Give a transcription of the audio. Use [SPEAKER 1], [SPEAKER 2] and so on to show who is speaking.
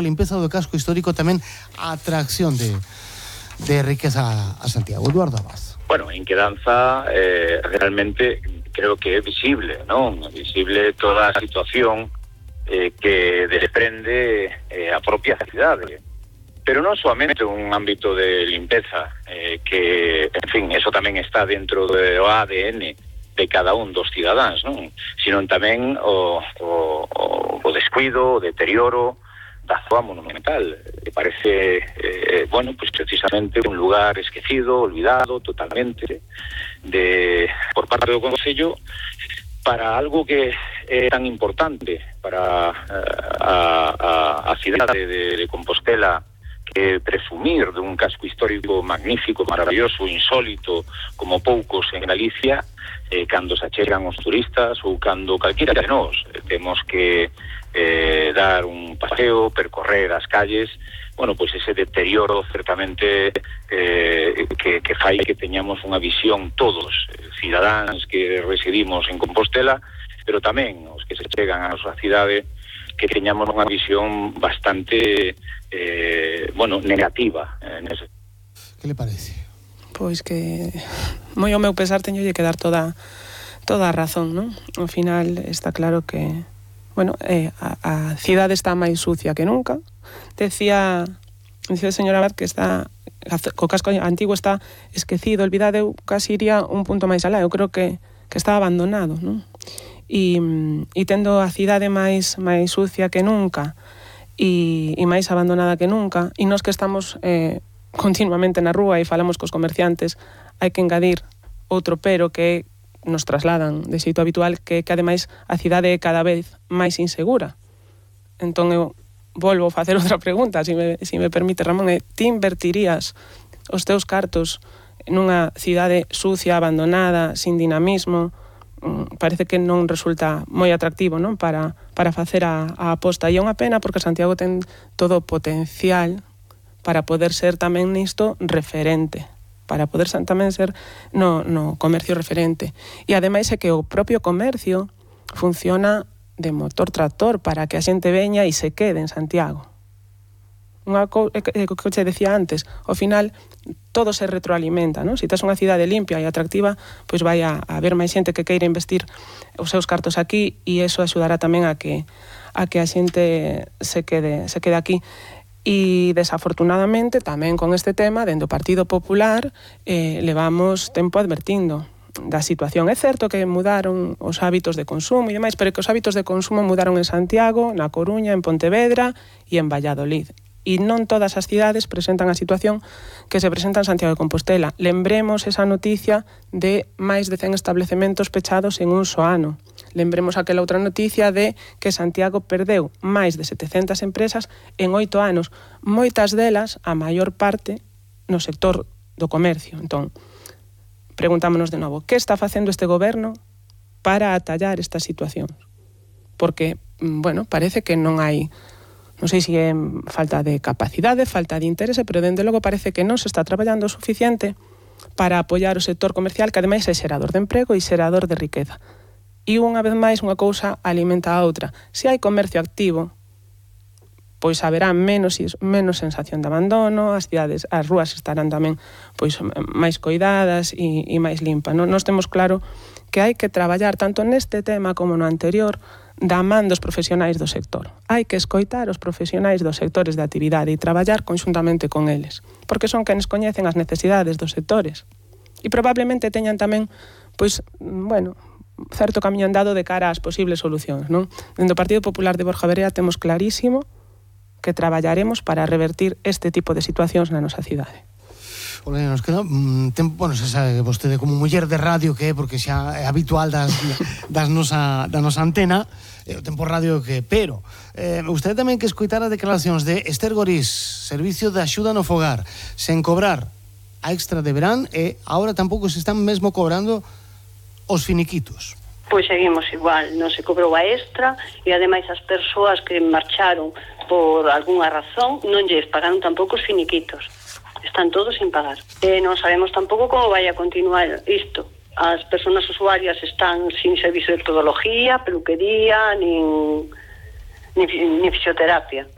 [SPEAKER 1] limpeza do casco histórico tamén a atracción de riqueza a Santiago. Eduardo Abas.
[SPEAKER 2] Bueno, en Quedanza realmente creo que é visible, non? Visible toda a situación que desprende a propia cidade. Pero non soamente un ámbito de limpeza, que, en fin, eso tamén está dentro do ADN de cada un dos cidadáns, non? Sino tamén o descuido, o deterioro da zona monumental. Me parece, bueno, pues precisamente un lugar esquecido, olvidado totalmente por parte do Concello para algo que é tan importante para a cidade de Compostela, que presumir dun casco histórico magnífico, maravilloso, insólito, como poucos en Galicia, cando se achegan os turistas ou cando calquera de nós temos que dar un paseo, percorrer as calles, bueno, pois ese deterioro certamente que fai que teñamos unha visión todos, cidadáns que residimos en Compostela, pero tamén os que se chegan a nosa cidade, que teñamos unha visión bastante bueno, negativa nese.
[SPEAKER 1] Que le parece?
[SPEAKER 3] Pois que moi ao meu pesar teñolle que dar toda a razón, non? Ao final está claro que bueno, a cidade está máis sucia que nunca. Decía o señor Abad que o casco antigo está esquecido, olvidado. Eu casi iría un punto máis alá. Eu creo que está abandonado, non? E tendo a cidade máis sucia que nunca e máis abandonada que nunca, e nós que estamos continuamente na rúa e falamos cos comerciantes, hai que engadir outro pero que nos trasladan de xeito habitual, que ademais a cidade é cada vez máis insegura. Entón eu volvo a facer outra pregunta, se me permite, Ramón, ti invertirías os teus cartos nunha cidade sucia, abandonada, sin dinamismo? Parece que non resulta moi atractivo, non? Para facer a aposta. E é unha pena porque Santiago ten todo o potencial para poder ser tamén nisto referente, para poder tamén ser no comercio referente. E ademais é que o propio comercio funciona de motor tractor para que a xente veña e se quede en Santiago. Unha que che decía antes, ao final todo se retroalimenta, non? Se tes unha cidade limpia e atractiva, pois vai a haber máis xente que queira investir os seus cartos aquí, e iso axudará tamén a que a xente se quede aquí. E desafortunadamente tamén con este tema, dentro do Partido Popular, levamos tempo advertindo da situación. É certo que mudaron os hábitos de consumo e demais, pero que os hábitos de consumo mudaron en Santiago, na Coruña, en Pontevedra e en Valladolid. E non todas as cidades presentan a situación que se presenta en Santiago de Compostela. Lembremos esa noticia de máis de 100 establecementos pechados en un só ano. Lembremos aquela outra noticia de que Santiago perdeu máis de 700 empresas en 8 anos. Moitas delas, a maior parte, no sector do comercio. Entón, preguntámonos de novo, que está facendo este goberno para atallar estas situacións? Porque, bueno, parece que non hai, non sei se é falta de capacidade, falta de interese, pero dende logo parece que non se está traballando o suficiente para apoiar o sector comercial, que ademais é xerador de emprego e xerador de riqueza. E unha vez máis, unha cousa alimenta a outra. Se hai comercio activo, pois haberá menos sensación de abandono, as rúas estarán tamén pois máis coidadas e máis limpas. Nós temos claro que hai que traballar tanto neste tema como no anterior da man dos profesionais do sector. Hai que escoitar os profesionais dos sectores de actividade e traballar conxuntamente con eles, porque son quenes coñecen as necesidades dos sectores e probablemente teñan tamén, pois, bueno, certo camiño andado de cara ás posibles solucións, non? Dentro do Partido Popular de Borja Verea temos clarísimo que traballaremos para revertir este tipo de situacións na nosa cidade.
[SPEAKER 1] Olha, nos queda tempo, bueno, se sabe vostede como muller de radio que é, porque xa é habitual da nosa antena, o tempo radio que, pero usted tamén que escoitar as declaracións de Esther Gorís, Servicio de Axuda no Fogar, sen cobrar a extra de verán, e agora tampouco se están mesmo cobrando os finiquitos.
[SPEAKER 4] Pois seguimos igual, non se cobrou a extra e ademais as persoas que marcharon por algunha razón non lles pagaron tampouco os finiquitos. Están todos sin pagar. Non sabemos tampouco como vai a continuar isto. As persoas usuarias están sin servicio de podología, peluquería, nin fisioterapia.